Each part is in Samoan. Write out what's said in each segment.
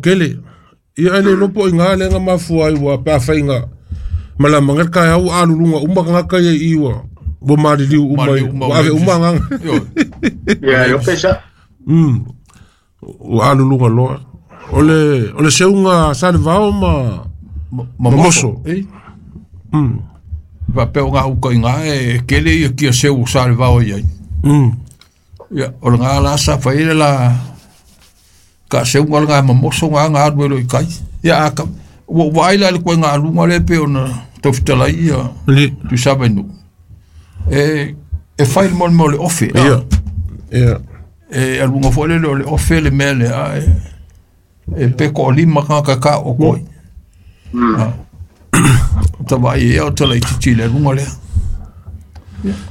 Kele. Ia ae le iloa po o i ina lea na mafua ai ua pe afai na malama le taeao ua aluluga uma tagata ia i i ua ua maliliu uma ua ave uma agaga. Ia, e ope sa. Ua aluluga loa. O le seuga Salevao ma ma Moso. Faapea o gauta i ina e tele ia kia seu o Salevao i ai. Ia, o lena la sa fai ai le la taaseuga lena ma Moso na na alu ai loa i tai. Ia a ua ou vaai la i le ituaiga aluga lea pei ona tau fetalai ia Tuisavainuu. E fai le mea o le ofe. Ia. E aluga foi lele o le ofe le mea lea, ae e pe toalima tagata e taooto ai. O ta vaai ai o ta laitiiti i le aluga lea.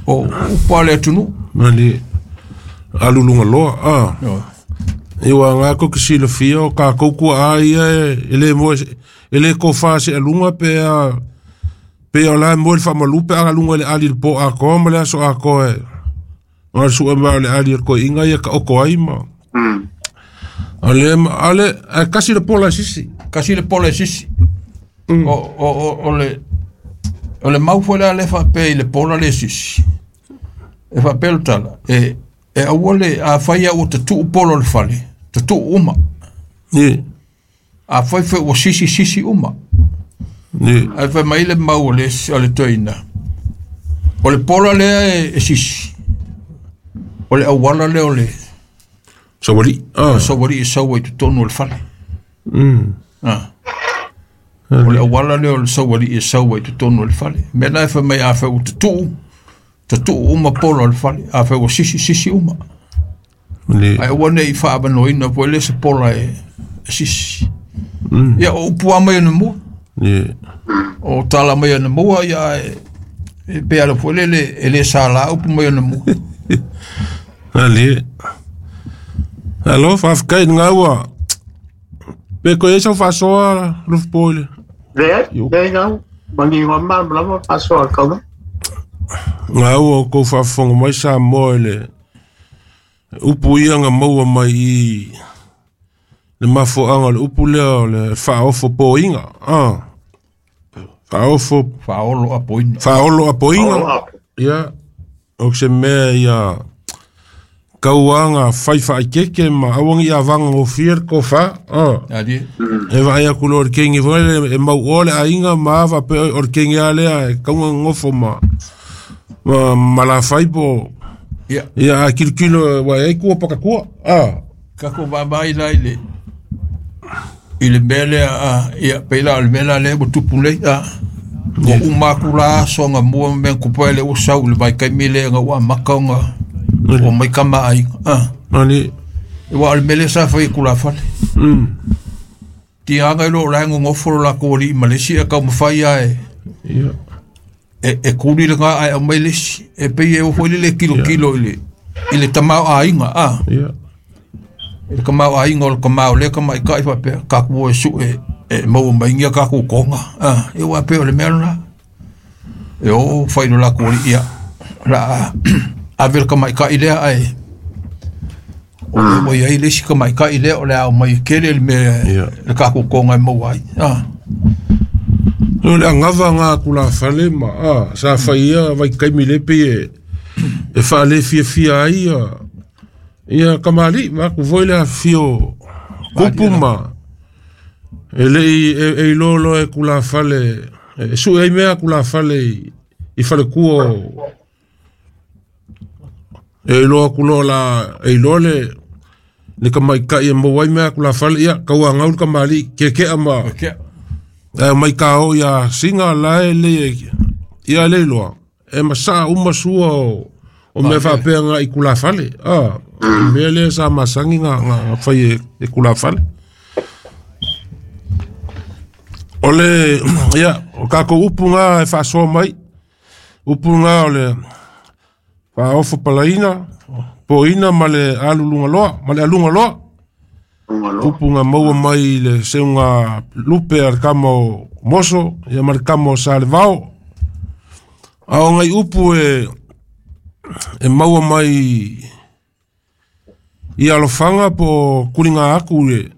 O upu a le atunuu. Mali aluluga loa. Ia ua nga kou te silafia o tatou tuaa ia e le moe e le tofa se aluga pe a pe o la e moe le faamalu pe a aluga i le ali i le po atoa ma le aso atoa e ona le sue mai o le ali a le toeaina ia taoto ai ma o le ale ae tasi le pola e sisi. Kasi le pola e sisi. O le mau foi lea le faapea i le pola le sisi. E faapea le tala, e aua le, a fai ua tatuu pola o le fale, tatuu uma. A fai foi ua sisi, sisi uma. Ae fai mai le mau o le toeaina, o le pola lea e sisi, o le auala lea o le Sauali. Sauali e sau ai totonu o le fale. Ah. O le auala lea o le sauali e sau ai totonu o le fale. Mea la e fai mai a fai ua tatuu, tatuu uma pola o le fale. A fai ua sisi, sisi uma. Ae aua ne i faaavanoina foi le se pola e sisi. Ia, o upu lava mai ona mua. O tala mai ona mua, ia e pe ala foi lele e le sala upu mai ona mua. Ali. Alo, faafetai lena ua. Pe koe ai sau faasoa Lufupo i le. Leai, leai ngau. Manino malamalama faasoa a le kaula. Ngā ua o kou faafofoga mai Samoa i le upu ia na maua mai i le mafuaaga o le upu lea o le faaofo poiga. Faaofo Faaolo apoina. Faaolo apoiga. Ia, o se mea ia kauaga fai faaikeke ma aua ni avaga gofie le tofa. Ali. E vaai atu loa i le kegi foi lele e mauoa le aiga ma a faapea o le kegi lava lea e tauga nonofo ma malafai po ia a kilokilo ua i ai tua pakatua. Tatou vaavaai la i le mea lea a ia pei la o le mea la lea ua tupu nei a ua uma atu la aso na mua ma mea na tupu ai lea ua sau i le vaitaimi lea na ua amata ona ua mai tama aiga a. Ali. Aua o le mea lea sa fai e tulafale. Tigaga i lo o la e nonofo lo latou alii ma le isi ae taumafai lava e e kuli lena ae aumai le isi. E pei e oo foi lele e tilotilo i le tamaoaiga a. I le tamaoaiga o le tama o lea tamaitai faapea tatou o e sue e maua mai ia tatou toga a. E ua pei o le mea lena. E o fai lo latou alii ia la a ave le tamaitai lea ae o lea ua i ai le isi tamaitai lea o le a aumai e tele le mea le tatou toga e maua ai a. O le agava ngā tulafale ma a sa fai ia vaitaimi le pei e faalefiafia ai ia ia kamali'i ma atu foi le afifio kupu ma e lei e iloa loa e tulafale e sue ai mea a tulafale i faletua o e iloa atu loa la e iloa le tamaitai e maua ai mea a tulafale ia tauagau le kamali'i kekea ma ae mai kao ia singa la e le ia le iloa e masaa uma sua o mea faapea nga i tulafale a mea lea sa masani nga fai e tulafale. O le ia o tatou upu nga e faasoa mai upu nga o le faaofo palaina poina ma le aluluga loa ma le aluga loa upu nga maua mai le seuga lupe a le kama o Moso ia ma le kama o Salevao. A o ngai upu e maua mai i alofaga po o kuliga aku i le